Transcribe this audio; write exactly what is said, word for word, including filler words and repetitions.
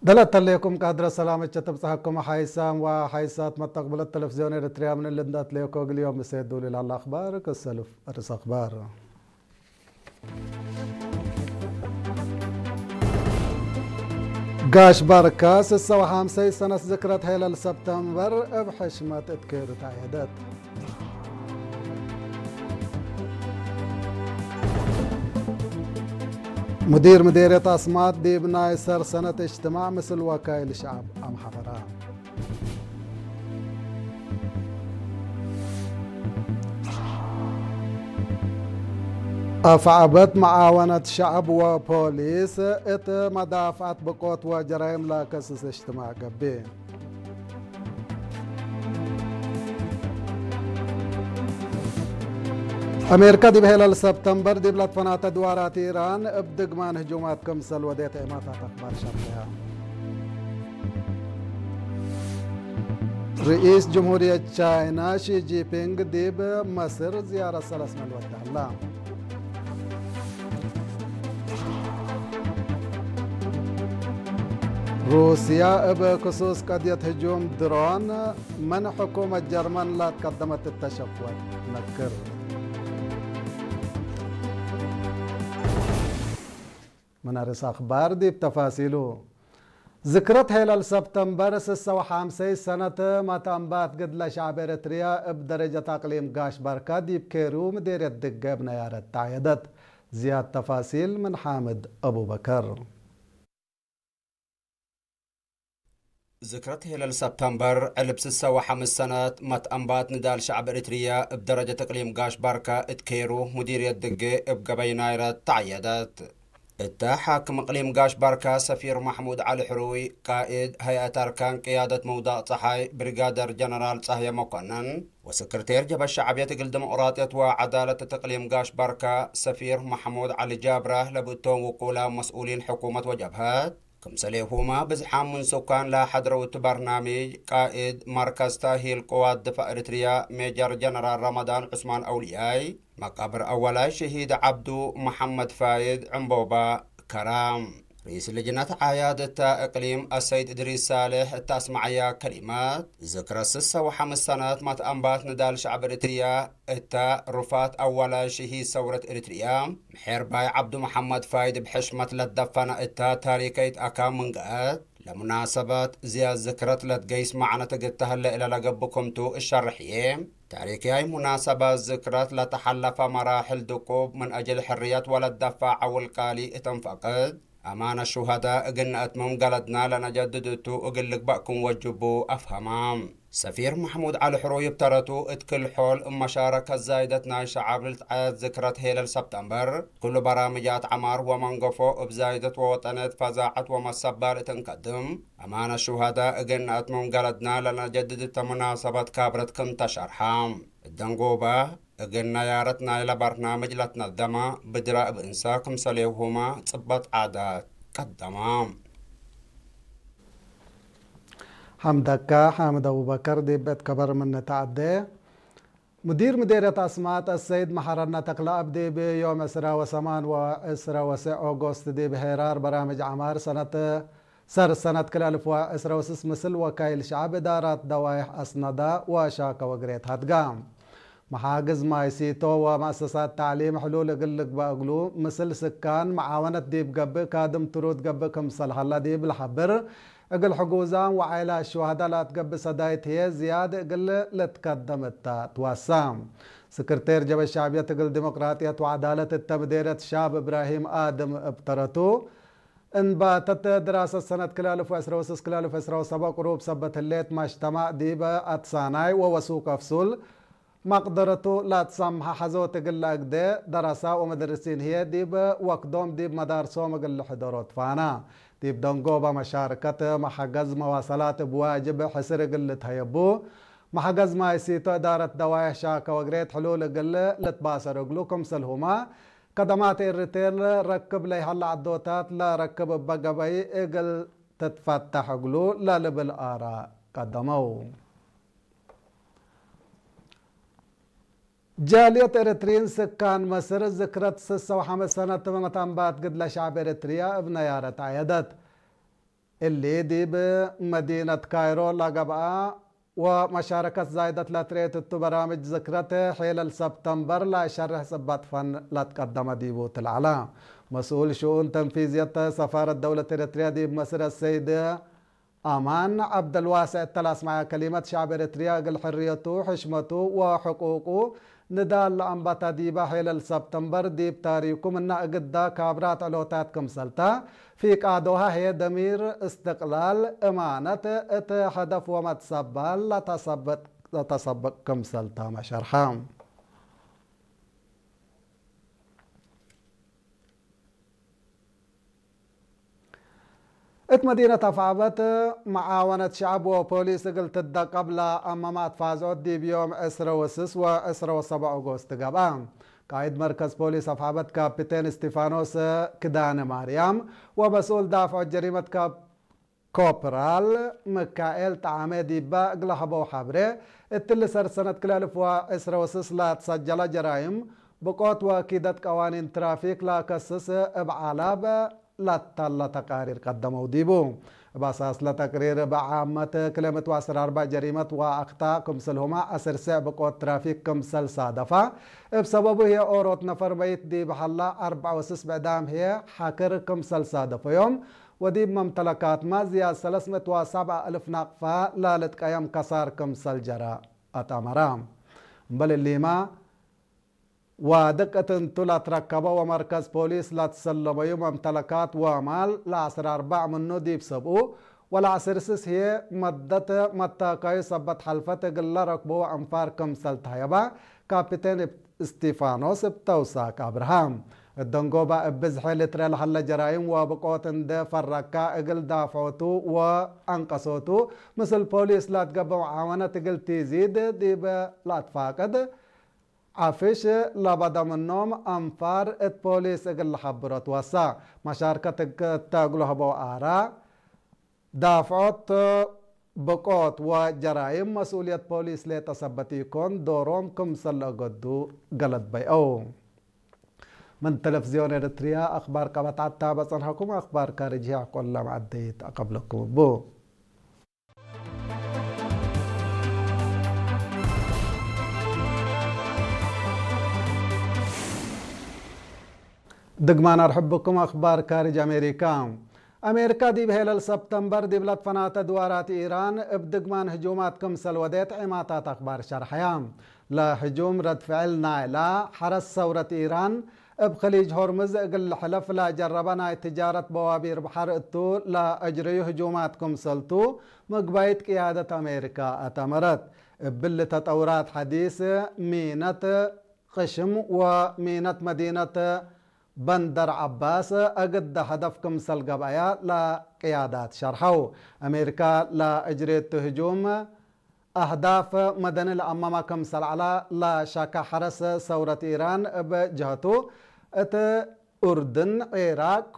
ደለ እተሌኩም ቃድረ ሰላመቼ ትብጽሐኩም ሓይሳም ወሓይሳት መተቅብለት ተለፍዝዮን ኤረትርያ ምን እሊ እንዴ አትሌኮ እግል ዮም ምሴ ዱል ለሀለ አክባር ክሰልፍ። አርእስ አክባር። ጋሽ ባርካ ስሰ ወሐምሰይ ሰነት ዝክረት ሄለል ሰብተምበር እብ ሕሽመት እት ኬሩ ተዐየደት። ሙዲር ምዴርየት አስማጥ ዲብ ናይ ሰር ሰነት እጅትማዕ ምስል ወካይል ሸዐብ አምሐፈራ። አፍዐበት መዓወነት ሸዐብ ወፖሊስ እት መዳፍዐት ብቆት ወጀራይም ለከስስ እጅትማዕ ገብእ። አሜሪካ ዲብ ሄለል ሰብተምበር ዲብ ለትፈናተ ድዋራት ኢራን እብ ድግማን ህጁማት ክምሰል ወዴት ዔማታት አክባር ሸርሕያ። ርኢስ ጅምሁርየት ቻይና ሺ ጂንፒንግ ዲብ መስር ዝያረት ሰለስ ምን ወደ ሀላ። ሩስያ እብ ክሱስ ቀድየት ህጁም ድሮን ምን ሕኩመት ጀርመን ለትቀደመት እተ ሸክወት ነክር። ምን አርእስ አክባር ዲብ ተፋሲሉ። ዝክረት ሄለል ሰብተምበር ስሰ ወሐምሰይ ሰነት መትአንባት ግድለ ሸዐብ ኤረትርያ እብ ደረጀት አቅሊም ጋሽ ባርካ ዲብ ኬሩ ምዴርየት ድገ እብ ነያረት ተዐየደት። ዝያድ ተፋሲል ምን ሓምድ አቡበከር። ዝክረት ሄለል ሰብተምበር ዕልብ ስሰ ወሐምስ ሰነት መትአንባት ንዳል ሸዐብ ኤሪትርየ እብ ደረጀት እቅሊም ጋሽ ባርከ እት ኬሩ ሙዲርየት ድጌ እብ ገበይ ናይረት ተዐየደት። እተ ሓክም እቅሊም ጋሽ ባርከ ሰፊር መሕሙድ ዐሊ ሕሩይ፣ ቃእድ ሀይአት አርካን ቅያደት ምውዳቅ ጸሓይ ብሪጋደር ጀነራል ጸህየ መኮነን ወስክርቴር ጀብሀት ሸዕብየት እግል ዲሞቅራጥየት ወዐዳለት እት እቅሊም ጋሽ ባርከ ሰፊር መሕሙድ ዐሊ ጃብረ ለብእቶም ውቁላ መስኡሊን ሕኩመት ወጀብሀት፣ ክምሰሌሁመ ብዝሓም ምን ሱካን ለሐድረው እቱ በርናምጅ፣ ቃእድ መርከዝ ተእሂል ቅዋት ድፋዕ ኤሪትርያ ሜጀር ጀነራል ረመዳን ዑስማን አውልያይ፣ መቃብር አወላይ ሸሂድ ዐብዱ መሐመድ ፋይድ ዕምቦባ ከራም፣ ርኢስ ልጅነት ዓያድ እተ እቅሊም አሰይድ እድሪስ ሳልሕ እተ አስመዐያ ከሊመት፣ ዝክረ ስሰ ወሐምስ ሰነት መትአንባት ንዳል ሸዕብ ኤሪትርያ እተ ሩፋት አወላይ ሸሂድ ሰውረት ኤሪትርያ፣ ምሔርባይ ዐብዱ መሐመድ ፋይድ እብ ሕሽመት ለትደፈነ እተ ታሪከይት አካን ምን ገአት፣ ለሙናሰበት ዝያድ ዝክረት ለትገይስ መዕነት እግል ተህለ እለ ለገብእ ክምቱ እሸርሕዬ። ታሪክያይ ሙናሰበት ዝክረት ለተሐለፈ መራሕል ድቁብ ምን አጅል ሕርየት ወለትደፈዕ ዐውል ቃሊ እት እንፈቅድ፣ አማነ ሹሀዳ እግል ነአትምም ገለድና ለነጀድድ እቱ እግል ልግበእ ክም ወጅቡ አፍሀማ። ሰፊር መሕሙድ ዐሊ ሕሩይ እብ ተረቱ፣ እት ክል ሖል እብ መሻረከት ዛይደት ናይ ሸዐብ ልትዐየድ ዝክረት ሄለል ሰብተምበር፣ ክሉ በራምጃት ዐማር ወመንገፎ እብ ዛይደት ወወጠንየት ፈዛዐት ወመሰባል እት እንቀድም፣ አማነ ሹሀዳ እግል ነአትምም ገለድና ለነጀድድ እተ ሙናሰበት ካብረት ክም ተሸርሐ። እት ደንጎበ፣ እግል ነያረት ናይለ በርናምጅ ለትነደመ ብድረ እብ እንሰ ክምሰሌሁመ ጽበጥ ዓዳት ቀደመ። ሐምደከ ሓምድ አቡበከር ዲብ እት ከበር ምን ተዐዴ። ሙዲር ምዴርየት አስማጥ አሰይድ መሐረነ ተክለአብ ዲብ ዮም ዕስራ ወሰማን ወዕስራ ወሰዕ ኦጎስት ዲብ ሄራር በራምጅ ዐማር ሰነት ሰር ሰነት ክል አልፍ ወዕስራ ወስስ ምስል ወካይል ሸዐብ እዳራት ደዋይሕ አስነዳ ወሻከ ወግሬት ሀድጋ። መሓግዝ ማይ ሲቶ ወመአሰሳት ተዕሊም ሕሉል እግል ልግበእ እግሉ፣ ምስል ስካን መዓወነት ዲብ ገብእ ካድም ትሩድ ገብእ ክምሰል ሀላ ዲብ ለሐብር፣ እግል ሕጉዛም ወዓይላት ሹሀዳ ለአትገብእ ሰዳይት ህዬ ዝያድ እግል ልትከደም እተ ትዋሳ። ስክርቴር ጀብሀት ሸዕብየት እግል ዲሞቅራጥየት ወዐዳለት እተ ምዴርየት ሻብ እብራሂም አድም እብ ተረቱ፣ እንባተት ድራሰት ሰነት ክልኤ አልፍ ወዕስራ ወስስ ክልኤ አልፍ ወዕስራ ወሰብዕ ቅሩብ ሰበት ህሌት፣ መጅተማዕ ዲበ አትሳናይ ወወሱክ አፍሱል መቅደረቱ ለአትሰምሐ ሐዞት እግል ለአግደ፣ ደረሳ ወመደርሲን ህዬ ዲብ ወክዶም ዲብ መዳርሶም እግል ልሕደሮ ትፋና። ዲብ ደንጎበ መሻርከት መሐገዝ መዋሰላት እብ ዋጅብ ሕስር እግል ልትሀየቡ፣ መሐገዝ ማይ ሲቶ እዳረት ደዋይሕ ሻከ ወግሬት ሕሉል እግል ልትባሰር እግሉ፣ ክምሰልሁመ ከደማት ኤሪትርየ ለረክብ ለይሀለ ዐዶታት ለረክብ እበ ገበይ እግል ትትፈተሕ እግሉ ለልብል አራእ ቀደመው። ጃልየት ኤሪትርዪን ስካን መስር ዝክረት ስሰ ወሐምስ ሰነት መትአንባት ግድለ ሸዕብ ኤሪትርያ እብ ነያረት አየደት። እሊ ዲብ መዲነት ካይሮ ለገብአ ወመሻረከት ዛይደት ለትርኤት እቱ በራምጅ ዝክረት ሔለል ሰብተምበር ለሸርሕ ጽበጥ ፈን ለትቀደመ ዲቡ ትልዓለ። መስኡል ሽኡን ተንፊዝየት ሰፋረት ደውለት ኤረትርያ ዲብ መስር አሰይድ አማን ዐብደልዋሴዕ እተ ለአስመዐ ከሊመት፣ ሸዕብ ኤረትርያ እግል ሕርየቱ፣ ሕሽመቱ ወሕቁቁ ንዳል ለአንበተ ዲበ ሔለል ሰብተምበር ዲብ ታሪኩ ምነ እግዳ ካብራት ዕሎታት ክምሰልተ፣ ፊቃዶሀ ህዬ ደሚር፣ እስትቅላል፣ እማነት እት ሀደፍ ወመትሰባል ለተሰበጥ፣ ለተሰበቅ ክምሰልተመ ሸርሐ። እት መዲነት አፍዐበት፣ መዓወነት ሸዐብ ወፖሊስ እግል ትደቀብ ለአመመ አትፋዝዖት ዲብ ዮም ዕስረ ወስስ ወዕስረ ወሰብዕ ኦጎስት ገብአ። ቃይድ መርከዝ ፖሊስ አፍዐበት ካፒቴን እስቲፋኖስ ክዳነ ማርያም ወመስኡል ዳፍዖት ጀሪመት ካፕ-፣ ኮፕራል ምካኤል ጠዓመ ዲበ እግለ ሀበው ሐብሬ፣ እትሊ ሰር ሰነት ክልኤ አልፍ ወዕስረ ወስስ ለትሰጀለ ጀራይም ብቆት ወኪደት ቀዋኒን ትራፊክ ለከስስ እብ ዓላብ ለተለ ተቃሪር ቀደመው ዲቡ። እብ አሳስ ለተቅሪር፣ እብ ዓመት ክልኤ ምእት ወዐስር አርበዕ ጀሪመት ወአክጣእ ክምስልሁመ ዐስር ሴዕ ብቆት ትራፊክ ክምሰል ሳደፋ። እብ ሰበቡ ህዬ ኦሮት ነፈር መይት ዲብ ሀላ፣ አርበዕ ወስስ ብዕዳም ህዬ ሐክር ክምሰል ሳደፈዮም። ወዲብ መምተለካትመ ዝያድ ሰለስ ምእት ወሰብዓ እልፍ ናቅፋ ለልትቀየም ከሳር ክምሰል ጀረ አትአመረ። እምበል እሊመ፣ ዋድቅ እት እንቱ ለትረከበ ወመርከዝ ፖሊስ ለትሰለመዩ መምተለካት ወማል ለዐስር አርበዕ ምኑ ዲብ ሰብኡ ወለዐስር ስስ ህዬ መደት መታካዩ ሰበት ሐልፈት እግል ለረክቡ አንፋር ክምሰል ተህየበ ካፒቴን እስቲፋኖስ እብ ተውሳክ አብርሃ። እት ደንጎበ እብ ብዝሒ ልትረ ለሀለ ጀራይም ወብቆት እንዴ ፈረካ፣ እግል ዳፍዖቱ ወአንቀሶቱ ምስል ፖሊስ ለትገብእ መዓወነት እግል ቲዚድ ዲብ ለአትፋቅድ፣ ዐፍሽ ለበደ ምኖም አንፋር እት ፖሊስ እግል ለሐብሮ ትወሳ። መሻርከት እተ እግሉ ሀበው አራ፣ ዳፍዖት ብቆት ወጀራይም መስኡልየት ፖሊስ ሌጠ ሰበት ኢኮን፣ ዶሮም ክምሰል ለአገዱ ገለድ በይአው። ምን ተለፍዝዮን ኤረትርያ አክባር ቀበት ዐድ ታበ ጸንሐኩም፣ አክባር ካርጅ ህይ አሕቆለ መዐደይት አቀብለኩም እቡ። ድግማን አርሕብኩም። አክባር ካርጅ አሜሪካ። አሜሪካ ዲብ ሔለል ሰብተምበር ዲብ ለትፈናተ ድዋራት ኢራን እብ ድግማን ህጁማት ክምሰል ወዴት ዔማታት አክባር ሸርሐያ። ለህጁም ረድ ፍዕል ናይላ ሐረስ ሰውረት ኢራን እብ ከሊጅ ሆርምዝ እግል ልሕለፍ ለጀረበ ናይ ትጃረት በዋቢር በሐር እቱ ለአጅረዩ ህጁማት ክምሰልቱ ምግባይት ቅያደት አሜሪካ አተመረት። እብሊ ተጠውራት ሐዲስ ሚነት ቅሽም ወሚነት መዲነት በንደር ዐባስ እግደ ሀደፍ ክምሰል ገብአያ ለቅያዳት ሸርሐው። አሜሪካ ለአጅሬቱ ህጁም አህዳፍ መደኒ ለአመመ ክምሰል ዐለ ለሸከ ሐረስ ሰውረት ኢራን እብ ጀሀቱ እት ኡርድን፣ ዒራቅ፣